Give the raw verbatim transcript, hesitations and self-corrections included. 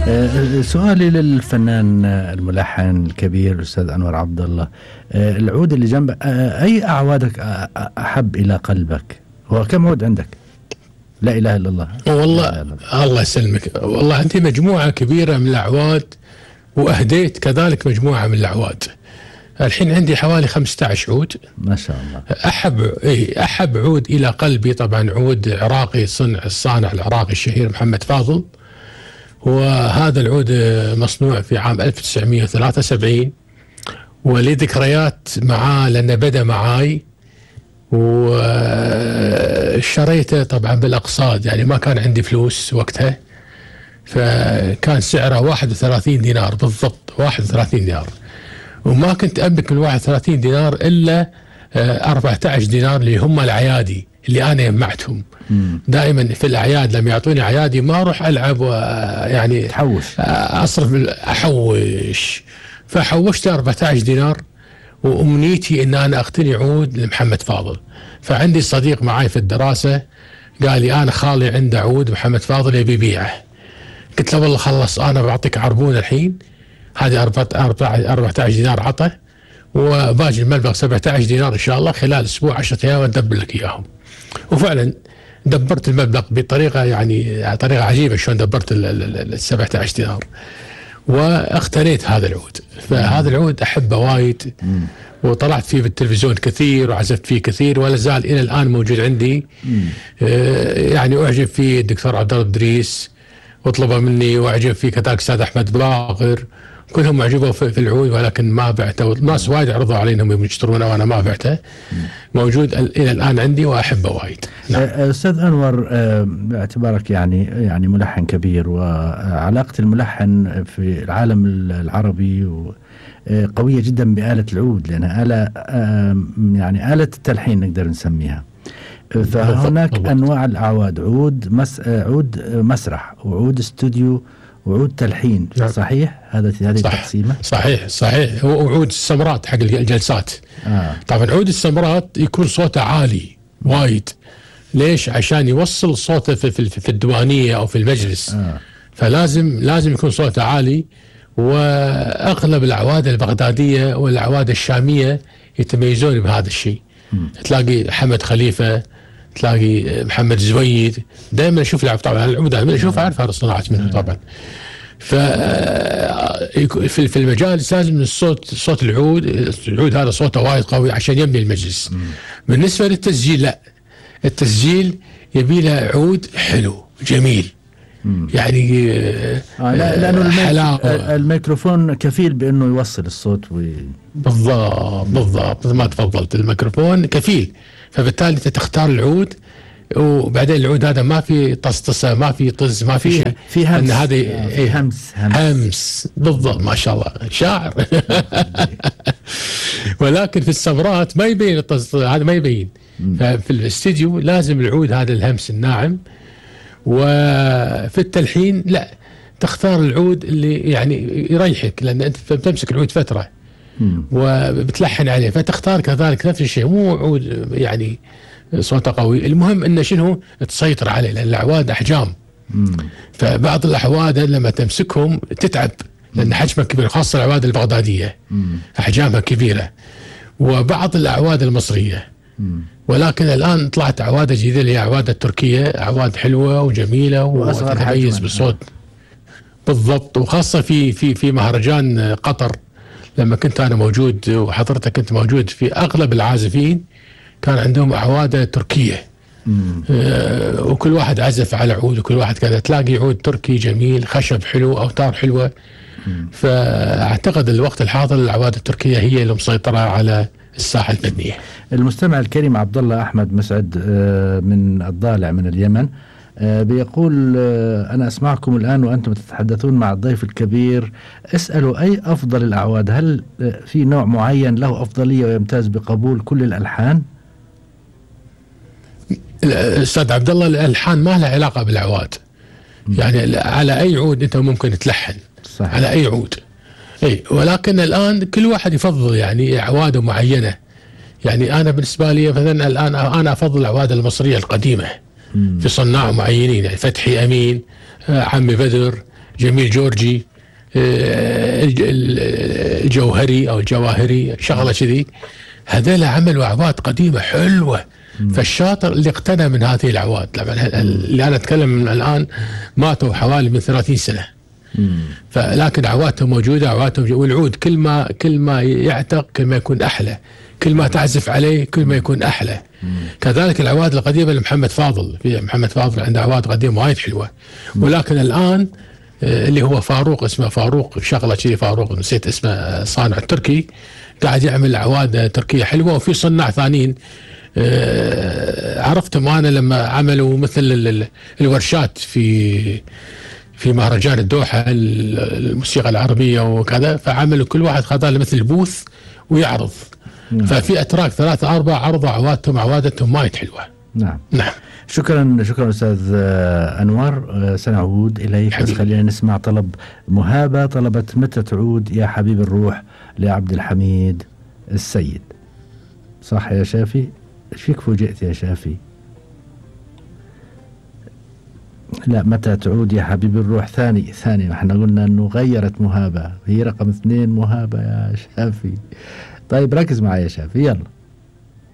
آه، سؤالي للفنان الملحن الكبير الأستاذ أنور عبد الله، آه، العود اللي جنبك، آه، أي أعوادك أحب إلى قلبك؟ هو كم عود عندك؟ لا إله إلا الله. والله إله الله. الله يسلمك. والله عندي مجموعة كبيرة من الأعواد، وأهديت كذلك مجموعة من الأعواد. الحين عندي حوالي خمسة عشر عود ما شاء الله. أحب إيه أحب عود إلى قلبي طبعا عود عراقي، صنع الصانع العراقي الشهير محمد فاضل، وهذا العود مصنوع في عام ألف وتسعمئة وثلاثة وسبعين، ولي ذكريات معاه لأنه بدأ معاي وشريته طبعا بالأقساط، يعني ما كان عندي فلوس وقتها، فكان سعره واحد وثلاثين دينار بالضبط، واحد وثلاثين دينار، وما كنت أملك من واحد وثلاثين دينار إلا أربعة عشر دينار اللي هم العيادي اللي أنا جمعتهم. دائما في الأعياد لما يعطوني عيادي ما أروح ألعب ويعني تحوش، أصرف أحوش، فحوشت أربعة عشر دينار، وأمنيتي إن أنا أقتني عود لمحمد فاضل. فعندي صديق معي في الدراسة قال لي أنا خالي عنده عود محمد فاضل يبي يبيعه. قلت له والله خلص أنا بعطيك عربون الحين، هذه أربعة عشر دينار عطى، وباجي المبلغ سبعة عشر دينار إن شاء الله خلال أسبوع عشرة أيام أدبر لك إياهم. وفعلا دبرت المبلغ بطريقة يعني طريقة عجيبة، شلون دبرت ال سبعة عشر دينار واقتنيت هذا العود. فهذا العود أحبه وايد، وطلعت فيه بالتلفزيون كثير وعزفت فيه كثير، ولا زال إلى الآن موجود عندي. آه يعني أعجب فيه الدكتور عبد الله إدريس وطلبه مني، وأعجب فيه كذلك الأستاذ أحمد باقر، كلهم أعجبوا في العود، ولكن ما بعته. الناس وايد عرضوا علي انهم يشترونه وانا ما بعته. موجود الى الان عندي واحبه وايد. نعم. استاذ انور، باعتبارك يعني يعني ملحن كبير، وعلاقه الملحن في العالم العربي قويه جدا بآلة العود، لانها آلة يعني آلة التلحين نقدر نسميها. فهناك بالضبط. انواع الاعواد، عود مس عود مسرح، وعود استوديو، وعود تلحين. نعم. صحيح هذا هذه التقسيمه؟ صحيح صحيح. وعود السمرات حق الجلسات. آه. طبعا عود السمرات يكون صوته عالي وايد. ليش؟ عشان يوصل صوته في, في, في الديوانيه او في المجلس. آه. فلازم لازم يكون صوته عالي. واغلب الاعواد البغداديه والاعواد الشاميه يتميزون بهذا الشيء. م. تلاقي حمد خليفه، تلاقي محمد زويد، دائما اشوف لعب طبعا العود انا اشوف اعرف هذا الصناعه منه طبعا. ف في المجالس لازم الصوت صوت العود العود هذا صوته وايد قوي عشان يبني المجلس. بالنسبه للتسجيل لا، التسجيل يبي له عود حلو جميل. مم. يعني آه لا لانه الميكروفون كفيل بانه يوصل الصوت وي... بالضبط بالضبط ما تفضلت، الميكروفون كفيل، فبالتالي انت تختار العود، وبعدين العود هذا ما في طسطسه، ما في طز، ما في شيء، في همس. هذه إيه همس, همس همس بالضبط. ما شاء الله شاعر. ولكن في السمرات ما يبين الطز هذا، ما يبين. ففي الاستديو لازم العود هذا الهمس الناعم. وفي التلحين لا، تختار العود اللي يعني يريحك، لان انت بتمسك العود فتره وبتلحن عليه، فتختار كذلك نفس الشيء، مو عود يعني صوته قوي. المهم انه شنو تسيطر عليه، لان الاعواد احجام. مم. فبعض الاعواد لما تمسكهم تتعب، لان حجمها كبير، خاصه الاعواد البغداديه. مم. احجامها كبيره. وبعض الاعواد المصريه. مم. ولكن الان طلعت اعواد جديده اللي هي اعواد التركيه، اعواد حلوه وجميله وتتميز بالصوت. بالضبط. وخاصه في في في مهرجان قطر لما كنت انا موجود وحضرتك كنت موجود، في اغلب العازفين كان عندهم اعواد تركيه. آه وكل واحد عزف على عود، وكل واحد كذا، تلاقي عود تركي جميل، خشب حلو، اوتار حلوه. مم. فاعتقد الوقت الحاضر الاعواد التركيه هي اللي مسيطره على الساحه الفنيه. المستمع الكريم عبد الله احمد مسعد من الضالع من اليمن بيقول: أنا أسمعكم الآن وأنتم تتحدثون مع الضيف الكبير، اسألوا أي أفضل الأعواد؟ هل في نوع معين له أفضلية ويمتاز بقبول كل الألحان؟ أستاذ عبد الله، الألحان ما لها علاقة بالأعواد. يعني على أي عود أنت ممكن تلحن. صحيح. على أي عود. أي، ولكن الآن كل واحد يفضل يعني أعواده معينة. يعني أنا بالنسبة لي مثلا الآن أنا أفضل الأعواد المصرية القديمة. في صناع معينين، يعني فتحي أمين، عمي بدر، جميل جورجي، الجوهري او الجواهري، شغله كذي. هذول عملوا اعواد قديمه حلوه. مم. فالشاطر اللي اقتنى من هذه الاعواد، اللي انا اتكلم من الان ماتوا حوالي من ثلاثين سنه. مم. فلكن اعوادهم موجوده، اعوادهم موجودة. والعود كل ما كل ما يعتق كل ما يكون احلى، كل ما تعزف عليه كل ما يكون احلى. مم. كذلك الاعواد القديمه لمحمد فاضل، في محمد فاضل عنده اعواد قديمه وايد حلوه. مم. ولكن الان اللي هو فاروق، اسمه فاروق شغله كذي، فاروق نسيت اسمه، صانع تركي، قاعد يعمل اعواد تركيه حلوه. وفي صناع ثانيين عرفتهم انا لما عملوا مثل الورشات في في مهرجان الدوحه الموسيقى العربيه وكذا، فعملوا كل واحد خذ له مثل بوث ويعرض. نعم. ففي اتراك ثلاثة أربعة عرضوا عوادتهم عوادتهم وايد حلوه. نعم نعم. شكرا شكرا استاذ انور، سنعود اليك، بس خلينا نسمع طلب مهابه طلبت متى تعود يا حبيب الروح لعبد الحميد السيد. صح يا شافي؟ ايش فيك فوجئت يا شافي؟ لا، متى تعود يا حبيب الروح ثاني ثاني، احنا قلنا انه غيرت مهابه، هي رقم اثنين مهابه يا شافي. طيب ركز معي يا شافي، يلا.